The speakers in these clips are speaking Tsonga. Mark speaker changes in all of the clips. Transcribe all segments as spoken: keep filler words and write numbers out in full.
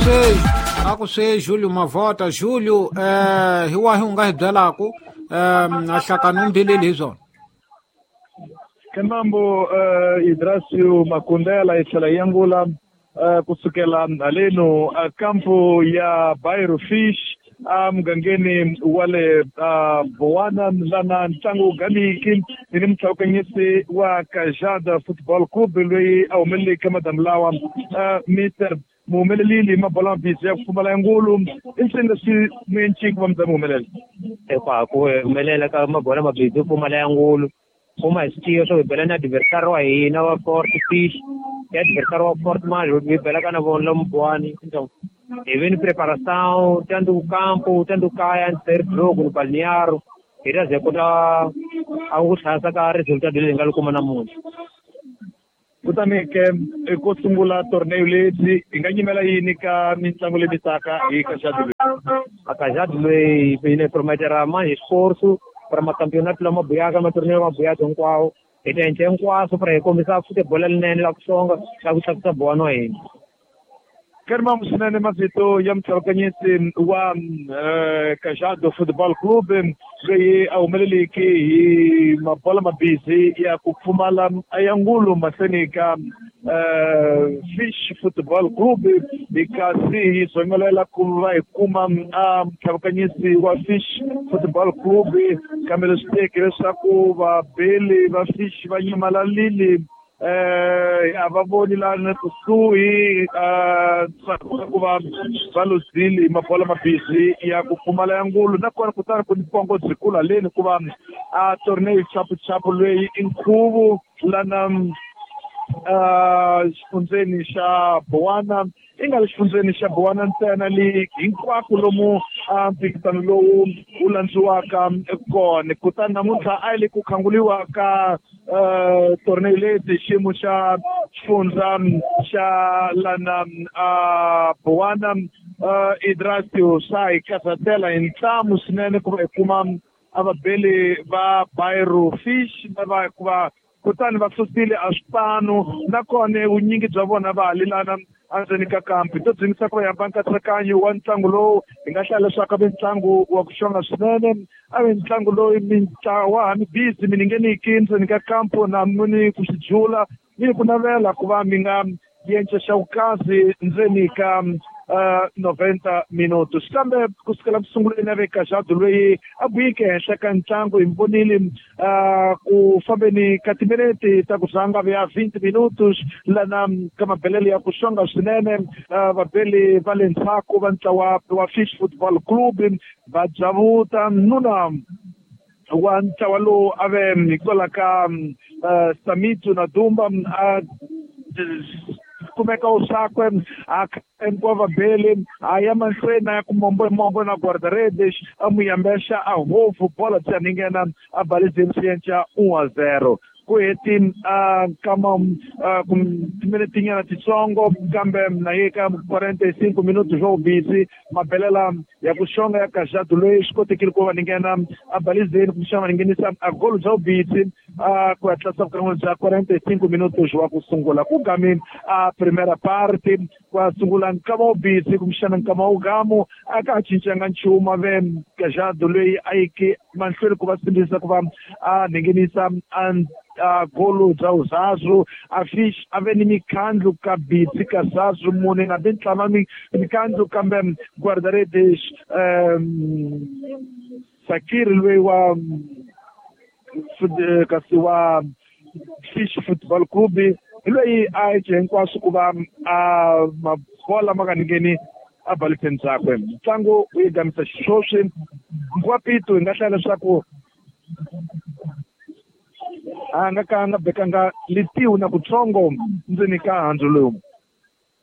Speaker 1: swe a ku swe Julio Mavota. Julio, eh hi wahi u nga hi byelaku um a hlakani u mbileli hi swona?
Speaker 2: Kemambo uh, Idrasio Makundela yi tlhela yi angula uh, kusukela haleno uh, kampo ya Bairro Fish emugangeni wa le uh, Bowana lana ntlangu wu gamiki ni ni mutlhawukanyisi wa Kajada Football Club loyi a humeleleke madamu lawa uh, Mister muhumelelile mabola mabisi ya ku pfumala ya ngulu i ncini leswi muenciki va mi humelela?
Speaker 3: Epa ku humelela ka mabola mabisi yo pfumala ya ngulu kuma hi switiyo swo hi bela na adversary wa hina wa Fort Fish ya adversary wa Fort Mali hi belaka na vona lomu Buwani. Então hi ve ni preparação tanto o campo tanto kaya antes do jogo no balneário hi ta ze kota a ku tlhasa ka resultado leyi hi nga li kuma namuntlha.
Speaker 2: Kutani ke ko sungula torneo lebyi hi nga nyimela yini ka mitlangu leyi mitaka hi Kajado loyi?
Speaker 3: A Kajado loyi hi ne prometera mais esforço para macampeonato lama buyaka matorneo lama buyaka hinkwawo hi ta endla hinkwaswo para hi kombisa futebol lerinene la ku xonga la ku tlakusa Bowana wa hina.
Speaker 2: Kerma swinene mavito ya mutlhawukanyisi wa uh, Kajado Football Club loyi a humeleleke hi mabola mabisi ya ku pfumala ya ngulu mahlweni ka uh, Fish Football Club hi kasi hi zongelela ku va hi kuma a mutlhawukanyisi wa Fish Football Club kambe leswi teke leswaku vabeli va Fish va nyamalalile eh a va voni lana kusuhi eh ku va va luzile mabola mabisi ya ku pfumala ya ngulu nakona kutani ku ni pongo byi kula leni ku va a torneo chapu chapu loyi i nkhuvo lana uh xifundzeni xa Bowana i nga le xifundzeni xa Bowana ntsena le hinkwako lomu a mphikizano lowu wu landziwaka kona. Kutani namuntlha a yi le ku khanguliwa ka uh torneo leti xiyimo xa xifundza xa lana a Bowana uh Idrasio swa hi karhatela hi ntlamu swinene ku va hi kuma a vabeli va Bairro Fish lava hikuva kutani va susile a swipano nakona vunyingi bya vona va halelana endzeni ka kampi to dzingisa ku va hamba nkatsakanyo wa ntlangu lowu hi nga hlaya leswaku a ve ntlangu wa ku xonga swinene a ve ntlangu loyi mintlawa ha mi busy mi ningeniki ndzeni ka kampo na mi ku swi jula mi ku navela ku va mi nga yenca xa vukazi ndzeni ka uh, noventa minutos kambe kusukela ku sunguleni a ve Kajado loyi a buyike henhla ka ntlangu hi vonile uh, ku fambeni ka timinete ta ku rhanga ya vinte minutos lana ka mabelelo ya ku xonga swinene uh, vabeli va le ndzhaku va ntlawa wa Fish Football Club va dzavuta nuna wa ntlawa lowu a ve hikwalaho ka uh, Samitu na Dumba a kumeka usakwe a hinkwavo vabeli a ya mahlweni a ya ku mombo mombo na guarda-redes a n'wi yambexa a hofu bola byi ninghena a balizeni swi yenca un a zero ku heti a kama timinetinyana titsongo kambe na ye ka quarenta e cinco minutos swo busy mabelela ya ku xonga ya Kajado loyi swi kotekile ku va ninghena a balizeni kumbexana va ninghenisa a golo bya vubisi a ku ya tlasa vukan'wini bya quarenta e cinco minutos wa ku sungula ku gamini a primera parte ku ya sungula nkama wu busy kumbexana nkama wu gamu a ka ha cincanga nchumu a ve Kajado loyi a yike mahlweni ku va simbisa ku va a ninghenisa a a golo bya uzazu a Fish a ve ni mikhandlu ka bitsi ka zazu mune na bintlama mikhandlu kambe guarda-redes um Sakir loyi wa kasi wa Fish Football Club hi loyi a yi hinkwaswo ku va a mabola ma nga ningheni a baliseni byakwe ntlangu wu yi gamisa xiswoswi Nkwapito hi nga hlaya leswaku a nga ka nga bekanga litiwu na kutsongo ndzeni ka handzu lowu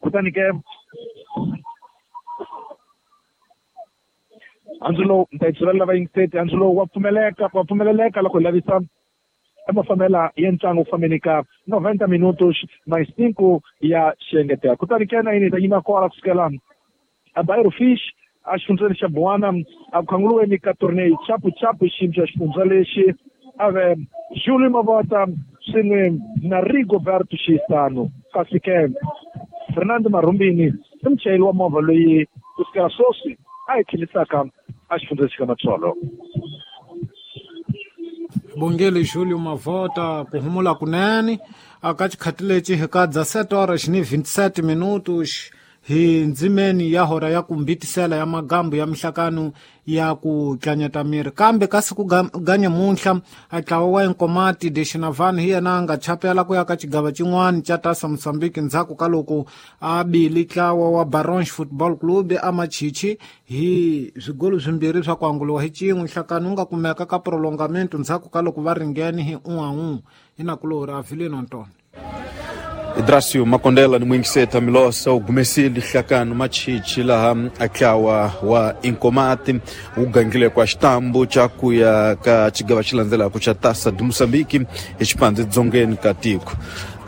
Speaker 2: kutani ke handzu lowu ni ta yi tsuvela lava yingiseti handzu lowu wa pfumeleka wa pfumeleleka loko hi lavisa mafambela ya ntlangu ku fambeni ka noventa minutos mais cinco ya xiengetela kutani ke na yini hi ta yima kwala kusukela a Bairro Fish a xifundzeni xa Bowana a ku khanguriweni ka torneo chapu chapu xiyimo xa xifundza lexi a ve Julio Mavota swin'we na Rigoberto Xisano kasi ke Fernando Marumbini I muchayeri wa movha loyi ku sukela sweswi a hi tlhelisaka a xifundza lexi ka Matsolo.
Speaker 1: Bongele Julio Mavota ku humula kunene aka xikhati lexi hi ka dezessete horas ni vinte e sete minutos hi ndzimeni ya hora ya kumbitisela ya magambu ya mihlakano ya ku tlanyeta miri kambe kasi ku ganya munhla a ntlawa wa Inkomati de Xinavani hi yena a nga chapela ku ya ka xigava xin'wana xa Taça Moçambique ndzhaku ka loko a bile ntlawa wa Barons Football Club a Machichi hi swigolo swimbirhi swa ku anguliwa hi xin'we. Nhlakano wu nga kumeka ka prolongamento ndzhaku ka loko va ringene hi un a un hi nakulorhi Avelino Antônio.
Speaker 4: Idrasio Makondela ni mwingiseta Milosa u gumesile nhlakano Machichi laha a wa Inkomati wu gangile kwa xitambu xa ku ya ka xigava xi landzelaka xa Taça de Moçambique hi xipandzi dzongeni ka tiko.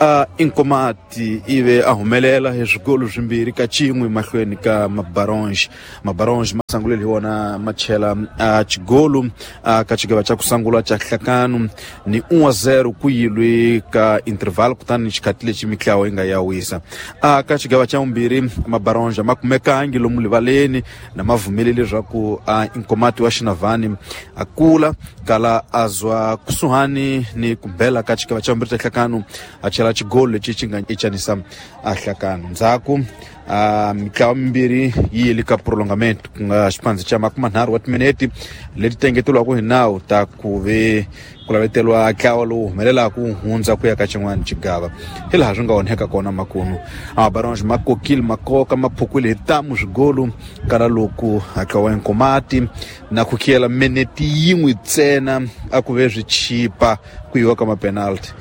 Speaker 4: A Inkomati ive a humelela hi swigolo swimbirhi ka xin'we mahlweni ka Mabaronge. Mabaronge ma sangulele hi wona ma chela a xigolo a ka xigava xa ku sungula xa nhlakano ni un a zero ku yilwe ka interval kutani xikhati lexi mitlawa yi nga ya wisa. A ka xigava xa vumbirhi Mabaronge ma kumekangi lomu rivaleni na ma vumelele leswaku a Inkomati wa Xinavani a kula kala a zwa kusuhani ni ku bela ka xigava xa vumbirhi xa nhlakano a chela xigolo lexi xi nga ichanisa a nhlakano. Ndzhaku a mitlawa mimbirhi yi yile ka prolongamento ku nga xipandzi xa makumanharhu wa timinete leti tengeteriwaka hi nawu ta ku ve ku laveteriwa ntlawa lowu humelelaka ku hundza ku ya ka xin'wana xigava hi laha swi nga onheka kona makunu. Mabaronge ma kokile makoka ma phukwile hi tamu swigolo kala loko ntlawa wa Inkomati na ku khiyela minete yin'we ntsena a ku ve swi chipa ku yiwa ka mapenalty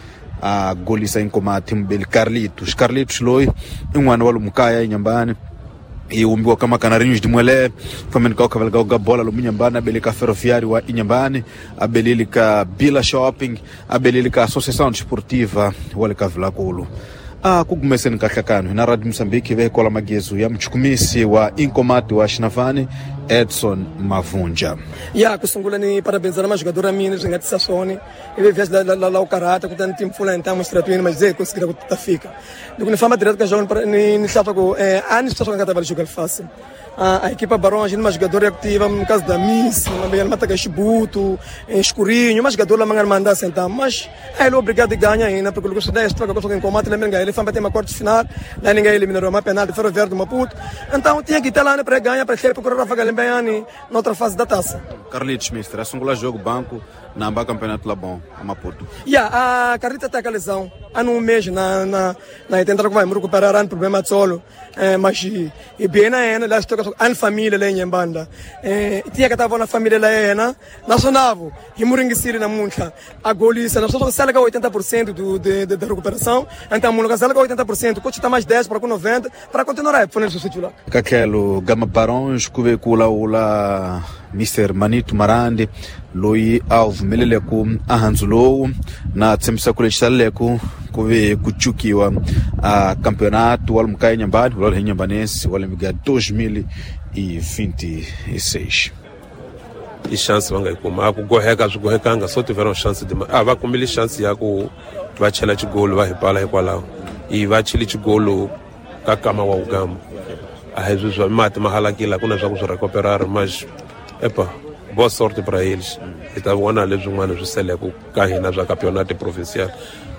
Speaker 4: a golisa Inkomati mubeli Carlito. Carlito loyi i n'wana wa lomu kaya eNyambani i humbiwa ka Macanarinhos de Muelé fambeni ka khaveleka ka bola lomu Nyambani a bele ka Ferroviário wa Inhambane a belele ka Bila Shopping a belele ka Associação Desportiva wa le ka Vilankulu. A ku gumeseni ka nhlakano hina Radio Moçambique ve kola magezu ya muchukumisi wa Inkomati wa Xinavani Edson Mavunja.
Speaker 5: Ya ku sungula ni parabenizar majogador a mina swi nga tisa swona ivi via la la la ukarata kutani timpfula hi ntamu xitratweni mas ze conseguir ku ta fika loko ni famba direto ka jogo ni ni hlata ku a ni swi nga ta va jogar fácil. A equipa Barões ni majogador ya kutiva no caso da Miss mabeyana mataka Xibuto Escurinho majogador la mangana manda sentar mas ele obrigado a ganhar ainda porque o dez troca com o Inkomati lembra ele famba tem uma quarta final lá ninguém eliminou uma penalti Ferroviário do Maputo então tinha que estar lá para ganhar para ter procurar Rafa Galembeani na outra fase da taça.
Speaker 4: Carlitos mister asungula jogo banco na amba campeonato lá bom a Maputo.
Speaker 5: Yeah, a Carlita tá com a lesão há um mês na na na tentar que vai me recuperar um problema de solo eh, mas e bem na ena lá estou com a família lá em Mbanda eh, tinha que estava na família lá ena nacional e muringisiri na muncha a golisa nós só sala com oitenta por cento do de, de, de recuperação então mundo sala com oitenta por cento coach tá mais dez para com noventa para continuar a fazer o lá
Speaker 4: Kakelo Gama Barões kuve kula ula Mister Manito Marandi loyi a vumelele ku a handzu lowu na tshembisa ku lexi saleleko ku ve ku cukiwa a campeonato wa lomu ka Inhambane wa le Inhambanense wa lembe ga dois mil e vinte e seis.
Speaker 6: I chance va nga yi kuma a ku goheka swi gohekanga so tiveram chance de a va kumile chance ya ku va chela xigolo va hi pala hikwalaho i va chile xigolo ka kama wa ugamba a hi swi swa mati ma halakile ku na swa ku swi recuperar mas epa boa sorte para eles hi ta vona leswin'wana swi seleke ka hina swa campeonato provincial.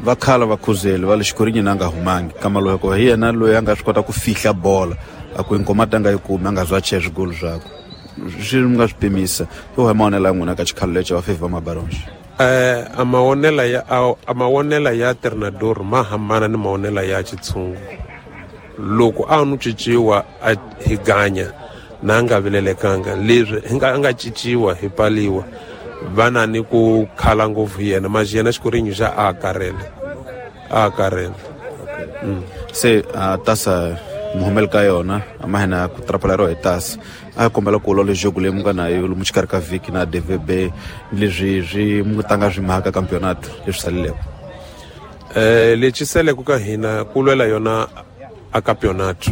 Speaker 4: Va khala va khuzeli va le xikorinyi na nga humangi kama loyi ko hi yena loyi a nga swi kota ku fihla bola a ku Inkomati a nga yi kumi a nga zwa chela swigolo swakwe swi nga swi pimisa yo hi maonela ya n'wina ka xikhalo lexi va favor Mabaronge.
Speaker 6: Eh a maonela ya a maonela ya treinador ma hambana ni maonela ya xitshungu loko a nu cinciwa a hi ganya na nga vilelekanga leswi hi nga nga cinciwa hi paliwa vana ni ku khala ngopfu yena mas yena xikorinyi xa a karele a karele.
Speaker 4: Mm. Se uh, tasa muhumel ka yona a ma hina ku trapaleriwa hi tasa a kombela ku lola jogo leyi mu nga na yo lomu xikarhi ka vhiki na D V B leswi swi mu tanga swi mhaka campeonato leswi saleleko.
Speaker 6: Eh lexi seleko ka hina ku lwela yona a campeonato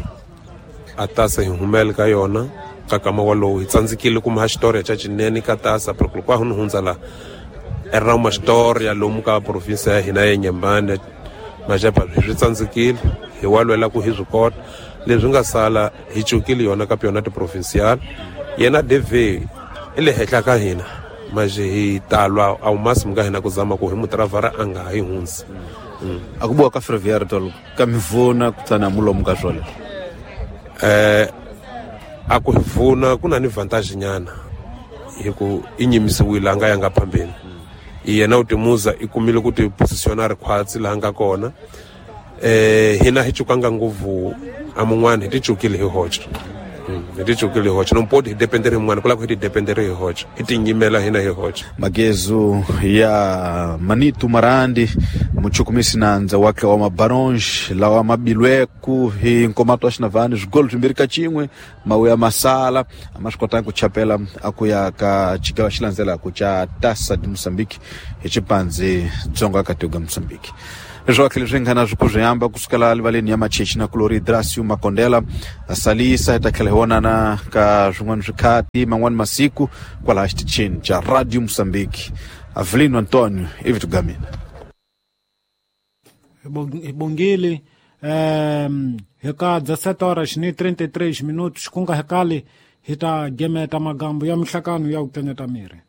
Speaker 6: a tasa hi humele ka yona ka kama walowu hi tsandzekile kuma xitori xa xinene ka tasa porque loko a ni hundza la era uma história lomu ka província ya hina ya Inhambane mas epa swi tsandzekile Hi wa lwela ku hi swi kota. Leswi nga sala hi cukile yona campeonato provincial. Yena D V i le henhla ka hina. Manje hi talwa ao máximo ka hina ku zama ku hi mutravara a nga hi hundzi.
Speaker 4: A ku boha ka Ferroviário tolo ka mivona kutana mulomo ka swona.
Speaker 6: Eh a ku hi vona ku na ni vantage nyana hi ku i nyimisiwile a nga yanga phambeni. Yena u timuza i kumile ku ti positiona ri khwatsi laha nga kona. Eh hina hi cukanga ngopfu a mun'wana hi ti cukile hi hoxa. Hi ti cukile hi hoxa no poti hi dependere hi mun'wana ku lava ku hi ti dependere hi hoxa hi ti nyimela hina hi hoxa.
Speaker 4: Magezo ya Manito Marandi muchukumisi nandza wakhe wa mabaronge lawa mabilweku hi nkomato wa xinavani swigolo swimbirhi ka xin'we mawuya masala a ma swi kotanga ku chapela a ku ya ka xigava xi landzelaka xa Taça de Moçambique hi xipandzi dzonga ka tiko Moçambique. Leswi wakhe leswi nga na swi ku swi hamba kusukela livaleni ya Machechi na Kulori Dracio Makondela salisa hi ta tlhela hi vonana ka swin'wana swikhati man'wani masiku kwalaha xitichini xa Radio Moçambique. Avelino Antonio ivi tugamina
Speaker 1: hi bongile um hi ka dezessete horas ni trinta e três minutos ku nga hekali hi ta gemeta magambo ya mihlakano ya ku tseneta miri.